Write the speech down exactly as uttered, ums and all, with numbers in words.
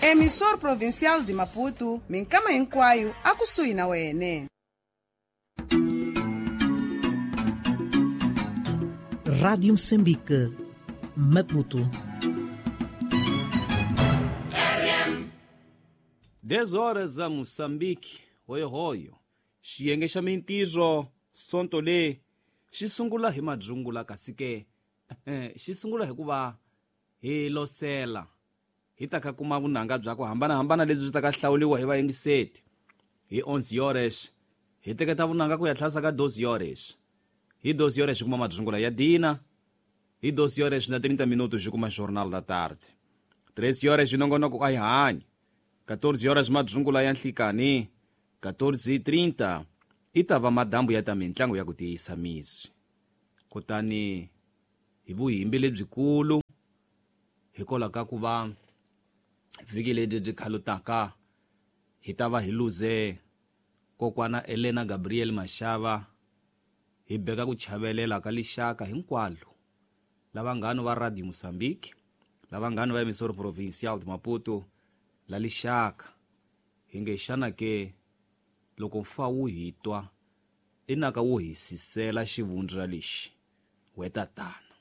Emissor Provincial de Maputo, minkama hinkwayo akusuhi na wene. Rádio Moçambique, Maputo. dez horas a Moçambique, hoyohoyo. Xiyenge xa mintirho sonto le xi sungula hi madzungula kasi ke xi sungula hikuva hi losela hi ta ka kuma vunanga bya ku hambanahambana lebyi byi ta ka hlawuriwa hi vayingiseti hi onze horas hi teketa vunanga ku ya tlhasa ka doze horas hi doze horas hi kuma madzungula ya dina hi doze horas na trinta minutos hi kuma Jornal da Tarde treze horas hi nongonoko a hi hanyi quatorze horas madzungula ya nhlikani quatorze e trinta i ta va madambu ya ta mintlangu ya ku tiyisa misi kutani hi vuhimbi lebyikulu hikwalaho ka ku va vhiki ledyi byi khalutaka hi ta va hi luze kokwana Elena Gabriel Mashava hi beka ku chavelela ka lixaka hinkwalo lava ngano va Radio Moçambique lava ngano va Emissora Provincial de Maputo la lixaka hi nge xana ke loko mfa wu hi twa inaka wu hi sisela xivundza lexi we tatana.